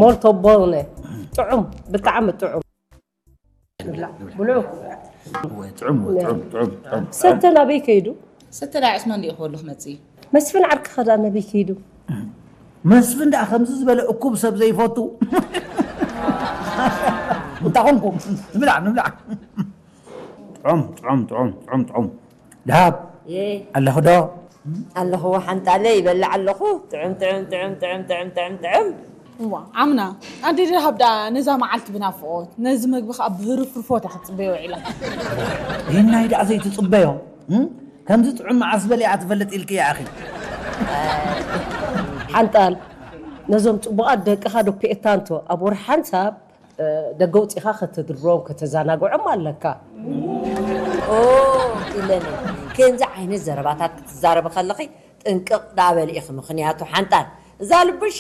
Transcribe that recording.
ሞልቶ ቦነ። ጥዑም፣ ብጣዕሚ ጥዑም። ብላዕ፣ ብልዑ። እወ፣ ጥዑም፣ ጥዑም፣ ጥዑም፣ ጥዑም። ሰተ ናበይ ከይዱ? ሰተ ዳኣ ዕስማን ዲኡ ክበሉ ክመጽእ እዩ። መስፍን ዓርክኻ ዳኣ ናበይ ከይዱ? መስፍን ዳኣ ከምዚ ዝበለ እኩብ ሰብ ዘይፈቱ እንታይ ኮንኩም? ንብላዕ፣ ንብላዕ። ጥዑም፣ ጥዑም፣ ጥዑም፣ ጥዑም፣ ጥዑም። ደሃብ፣ ኣለኹ ዶ? ኣለኹ ሓንጣለ ይበልዕ ኣለኹ። ጥዑም፣ ጥዑም፣ ጥዑም፣ ጥዑም፣ ጥዑም፣ ጥዑም፣ ጥዑም። እዋ ዓምና ኣደ ደሃብ ደኣ ነዛ መዓልቲ ብናፍቖት፣ ነዚ መግቢ ከኣ ብህርፍርፎት እያ ክትጽበዮ ውዒላ። ይህናይ ደኣ ዘይትጽበዮ፣ እም? ከምዚ ጥዑም መዓስ በሊዓ ትፈልጥ ኢልኪ እያ ኣኺ። ሓንጣል፣ ነዞም ጽቡቓት ደቅኻ ዶ ፒኤታንቶ ኣብ ወርሒ ሓንሳብ፣ እ፣ ደገ ውጺኻ ከተድርቦም ከተዘናግዖም ኣለካ። ኦ፣ ኢለኒ። ከምዚ ዓይነት ዘረባታት ክትዛረቢ ከለኺ ጥንቅቕ ደኣ በሊ ኢኺ። ምኽንያቱ ሓንጣል፣ እዛ ልብሽ